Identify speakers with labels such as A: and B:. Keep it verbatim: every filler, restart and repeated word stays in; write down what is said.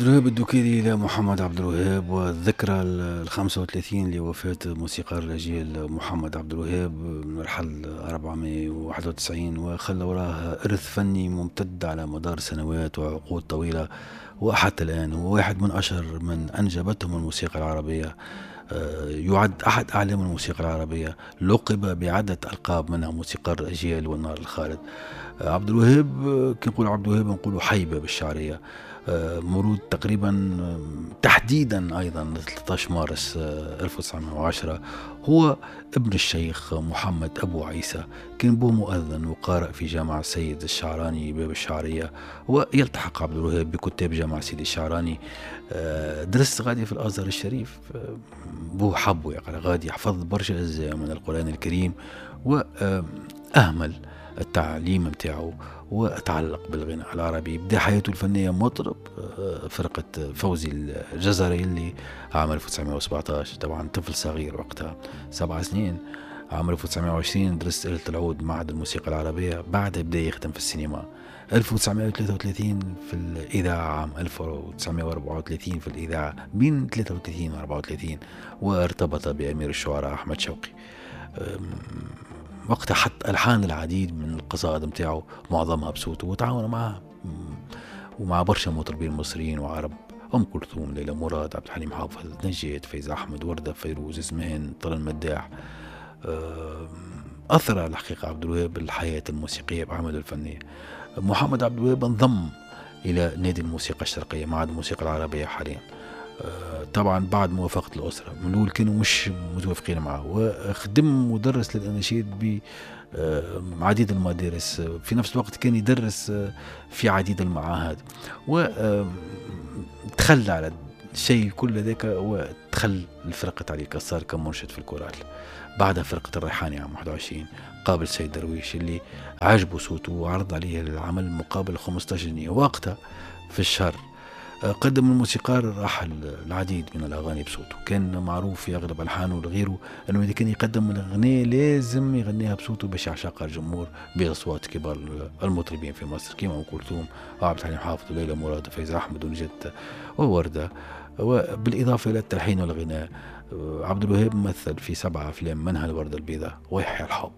A: الوهاب الدكيلي إلى محمد عبد الوهاب، والذكرى ال خمسة وثلاثين لوفاة موسيقار الأجيال محمد عبد الوهاب، رحل أربعمائة وواحد وتسعين وخلى وراه إرث فني ممتد على مدار سنوات وعقود طويلة، وحتى الآن هو واحد من أشهر من أنجبتهم الموسيقى العربية، يعد أحد أعلام الموسيقى العربية، لقب بعدة ألقاب منها موسيقار الأجيال والنار الخالد. عبد الوهاب كي نقول عبد الوهاب نقولوا حيبة بالشعرية، مولود تقريبا تحديدا أيضا ثلاثة عشر مارس ألف وتسعمائة وعشرة، هو ابن الشيخ محمد أبو عيسى، كان بوه مؤذن وقارئ في جامع السيد الشعراني باب الشعرية، ويلتحق عبد الوهاب بكتاب جامع سيدي الشعراني. درس غادي في الأزهر الشريف، بوه حبه يقرأ غادي، حفظ برشا أجزاء من القرآن الكريم وأهمل التعليم متاعه وتعلق بالغناء العربي. بدأ حياته الفنية مطرب فرقة فوزي الجزري اللي عام ألف وتسعمائة وسبعة عشر، طبعا طفل صغير وقتها سبع سنين. عام ألف وتسعمائة وعشرين درس آلة العود معهد الموسيقى العربية، بعدها بدأ يخدم في السينما. ألف وتسعمائة وثلاثة وثلاثين في الإذاعة، عام ألف وتسعمائة وأربعة وثلاثين في الإذاعة، بين ثلاثة وثلاثين و أربعة وثلاثين، وارتبط بأمير الشعراء أحمد شوقي. وقتها حط ألحان العديد من القصائد متاعه معظمها بصوته، وتعاون معه ومع برشا مطربين مصريين وعرب، أم كلثوم، ليلى مراد، عبد الحليم حافظ، نجاة، فايزة أحمد، وردة، فيروز، زمان، طلال مداح. أثر الحقيقة عبد الوهاب الحياة الموسيقية بأعماله الفنية. محمد عبد الوهاب انضم إلى نادي الموسيقى الشرقية، معهد الموسيقى العربية حاليا، طبعا بعد موافقة الأسرة، من الأول كانوا مش متوافقين معه، وخدم مدرس للأناشيد بعديد المدارس، في نفس الوقت كان يدرس في عديد المعاهد، وتخلى على الشيء كل ذاك ودخل لفرقة علي كسار كمنشد في الكورال. بعدها فرقة الريحاني عام واحد وعشرين قابل سيد درويش اللي عجبه صوته وعرض عليه العمل مقابل خمسة عشر جنيه وقتها في الشهر. قدم الموسيقار راح العديد من الأغاني بصوته، كان معروف في أغلب ألحانه وغيره أنه إذا كان يقدم الأغنية لازم يغنيها بصوته باش يعشقها الجمهور بأصوات كبار المطربين في مصر كما أم كلثوم وعبد الحليم حافظ وليلى مراد وفايزة أحمد ونجاة ووردة. وبالإضافة إلى التلحين والغناء، عبد الوهاب مثل في سبعة أفلام منها الوردة البيضاء ويحيى الحب.